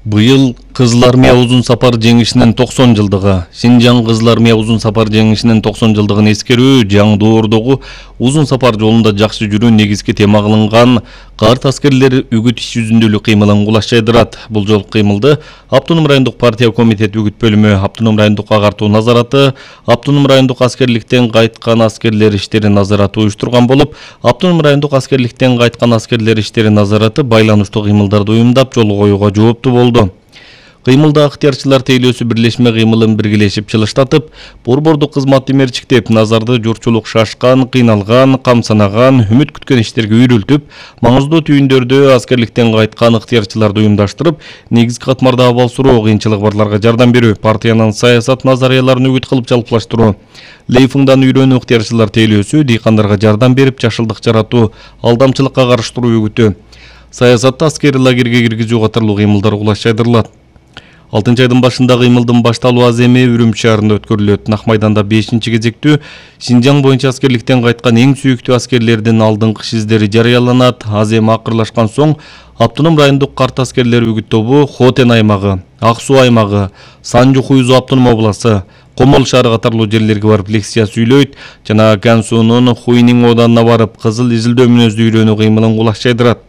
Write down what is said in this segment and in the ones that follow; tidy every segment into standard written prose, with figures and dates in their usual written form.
Быйыл Кызыл Армия узун сапар жеңишинин 90 жылдыгы. Шинжаң Кызыл Армия узун сапар жеңишинин 90 жылдыгын эскерүү жаңдоордогу узун сапар жолунда жакшы жүрүү негизги тема кылынган карт аскерлер үгүт иш жүзүндөлүк кыймылын кулаш жайдырат. Бул жолку кыймылды Автоном райондук партия комитети үгүт бөлүмү, Автоном райондук агартуу назараты, Автоном райондук аскерликтен кайткан аскерлер иштери назараты уюштурган болуп, Автоном райондук аскерликтен кайткан аскерлер иштери назараты байланыштуу кыймылдарды уюмдап жол коюуга жооптуу болду. Кыймылда ыктыярчылар тейлөөсү бирлешме кыймылын биргелешип чылыштатып, борбордук кызматты мерчиктеп, назарды журтчулук шашкан, кыйналган, камсанаган, үмүт күткөн иштерге үйрүлтүп, маңыздуу түйүндөрдө аскерликтен кайткан ыктыярчыларды уюмдаштырып, негизги катмарда абал суроо, кыйынчылыгы барларга жардам берүү, партиянын саясат назарияларын үгүт кылып жалпылаштыруу, лейфингдан үйрөнүү, ыктыярчылар тейлөөсү, дыйкандарга жардам берип, жашылдык жаратуу, алдамчылыкка каршы туруу үгүтү, саясатта аскери лагерге киргизүү катарлуу кыймылдар кулаш жайдырылат. 6 айдын башында кыймылдын башталуу аземи Үрүмчү шаарында өткөрүлөт. Нак майданда 5-кезектүү Шинжаң боюнча аскерликтен кайткан эң сүйүктүү аскерлердин алдыңкы издери жарыяланат. Азем акырлашкан соң Автоном райондук карт аскерлер үгүт тобу Хотен аймагы, Ак Суу аймагы, Санжу-Хуйзу автоном обласы, Комол шаары катарлуу жерлерге барып лекция сүйлөйт жана Кан суунун Хуйнин оданына барып кызыл изилдөө мүнөздүү үйрөнүү кыймылын кулаш жайдырат.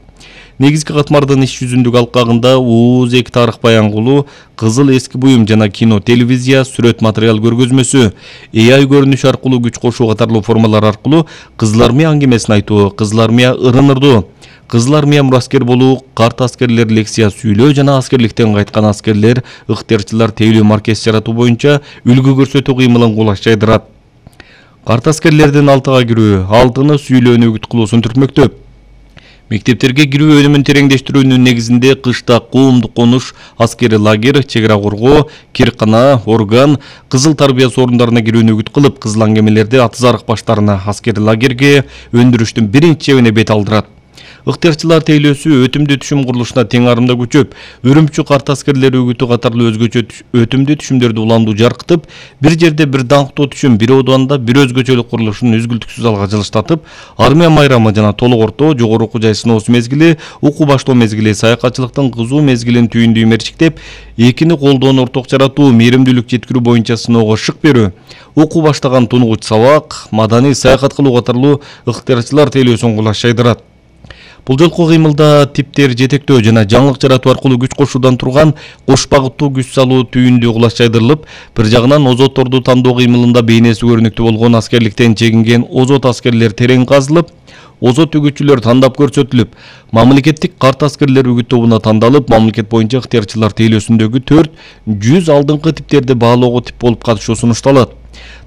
Негизги катмардын иш жүзүндүк алкагында УУЗ эки тарых баянгулуу, кызыл эски буюм жана кино, телевизия, сүрөт материал көргөзмөсү, AI көрүнүш аркылуу күч кошуу катарлуу формалар аркылуу Кызыл Армия аңгемесин айтуу, Кызыл Армия ырынырдуу, Кызыл Армия мураскер болуу, карт аскерлер лекция сүйлөө жана аскерликтен кайткан аскерлер ыктыярчылар тейлөө маркес жаратуу боюнча үлгү көрсөтүү кыймылын кулаш жайдырат. Карт аскерлердин алтыга кирүү, алтыны сүйлөөнү үгүт кылуусун түртмөктөп, мектептерге кирүү өнүмүн тереңдештирүүнүн негизинде кышта коомдук конуш, аскери лагерь, чек ара коргоо, киркана, орган, кызыл тарбия орундарына кирүүнү үгүт кылып, кызыл аңгемелерди атызарык баштарына аскери лагерге өндүрүштүн биринчи чебине бет алдырат. Ыктыярчылар тейлөөсү өтүмдүү түшүм курулушуна тең арымда көчөп, Үрүмчү карт аскерлери үгүтү катарлуу өзгөчө өтүмдүү түшүмдөрдү уландуу жаркытып, бир жерде бир даңктуу түшүм, бир ооданда бир өзгөчөлүк курулушун үзгүлтүксүз алга жылыштатып, армия майрамы жана толук орто, жогору окуу жай сыноосу мезгили, окуу баштоо мезгили, саякатчылыктын кызуу мезгилин түйүндүү мерчиктеп, экини колдон орток жаратуу, мээримдүүлүк жеткирүү боюнча сыноого шык берүү, окуу баштаган тунугуч сабак, маданий саякат кылуу катарлуу ыктыярчылар тейлөөсүн кулаш жайдырат. Бул жолку кыймылда типтер жетектөө жана жаңылык жаратуу аркылуу күч кошуудан турган кош багыттуу күч салуу түйүндүү кулаш жайдырылып, бир жагынан озотторду тандоо кыймылында бейнеси көрүнүктүү болгон аскерликтен чегинген озот аскерлер терең казылып, озот үгүтчүлөр тандап көрсөтүлүп, мамлекеттик карт аскерлер үгүт тобуна тандалып, мамлекет боюнча ыктыярчылар тейлөөсүндөгү 400 алдыңкы типтерди баалоого тип болуп катышуу сунушталат.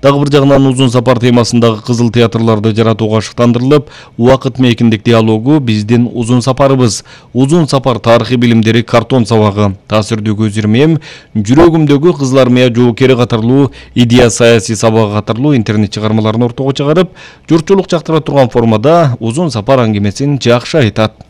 Дагы бир жагынан узун сапар темасындагы кызыл театрларды жаратууга шыктандырылып, убакыт мейкиндик диалогу биздин узун сапарыбыз, узун сапар тарыхый билимдери картон сабагы, таасирдүү көз ирмем, жүрөгүмдөгү Кызыл Армия жоокери катарлуу идея саясий сабагы катарлуу интернет чыгармаларын ортого чыгарып, журтчулук жактыра турган формада узун сапар аңгемесин жакшы айтат.